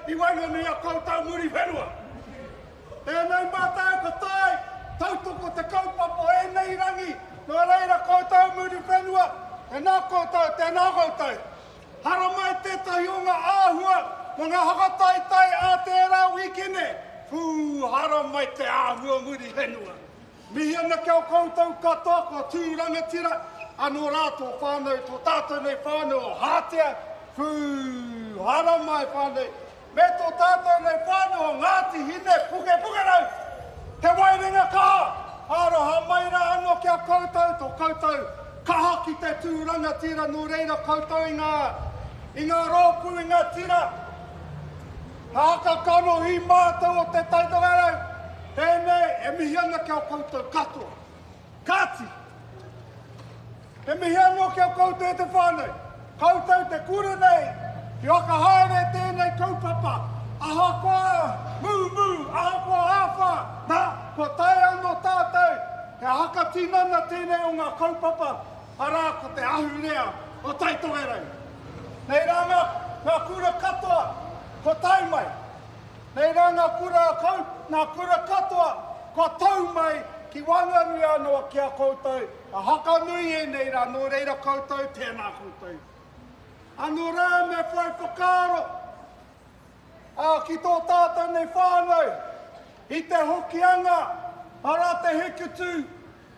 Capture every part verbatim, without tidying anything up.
i waenganui a koutou Muriwhenua. Tēnei mātou ko tai, tautoko te kaupapa o ēnei rangi, nō reira koutou Muriwhenua, tēnā koutou, tēnā koutou. Haramai tētahi o ngā āhua mō ngā whakataetae a tērā wīkene, pū, haramai te āhua Muriwhenua. Mihi ana ki a koutou katoa, kua tū rangatira, anō rā tō whānau, tō tātou nei whānau o Hātea, pū, haramai whānau, me tō tātou nei whānau o Ngāti Hine Pukepukerau, te waerenga kaha, aroha mai rā anō ki a koutou, tō koutou kaha ki te tū rangatira, nō reira koutou i ngā, i ngā rōpū, i ngā tira, haka kanohi mātou o Te Tai Tokerau, tēnei e mihi ana ki a koutou katoa. Kāti, e mihi anō ki a koutou e te whānau, koutou te kura nei, ki whakahaere tēnei kaupapa, ahakoa mūmū, ahakoa āwhā, nā, kua tae anō tātou, he hakatinana tēnei o ngā kaupapa, arā ko te ahurea o Tai Tokerau. Nei rā ngā, ngā kura katoa, kua tae mai. Nei rā ngā kura, kau, ngā kura katoa, kua tau mai ki waenganui anō ki a koutou, a hakanui ēnei rā, nō reira koutou, tēnā koutou. Anō rā me whai whakaaro, ā, ki tō tātou nei whānau, i te Hokianga, arā te Hikutu,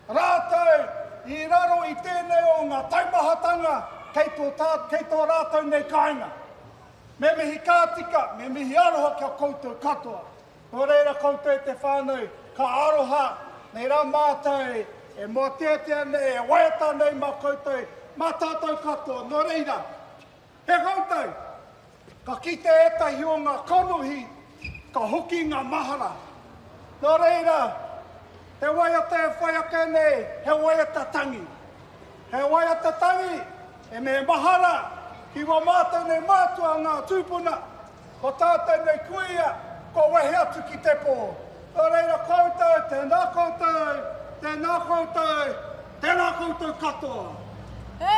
rātou i raro i tēnei o ngā taumahatanga kei tō, tā, kei tō rātou nei kāinga. Me mihi ka tika, me mihi aroha ki a koutou katoa. Nō reira koutou e te whānau, ka aroha, nei rā mātou e mōteatea nei, e waiata nei mā koutou, mā tātou katoa. Nō reira, he koutou, ka kite ētahi o ngā kanohi, ka hoki ngā mahara. Nō reira, te waiata e whai ake nei, he waiata tangi. He waiata tangi, e me mahara, ki wā mātou nei mātua ngā tūpuna, ko tātou nei kuia, ko wehe atu ki te pō. Nō reira koutou, tēnā koutou, tēnā koutou, tēnā koutou katoa.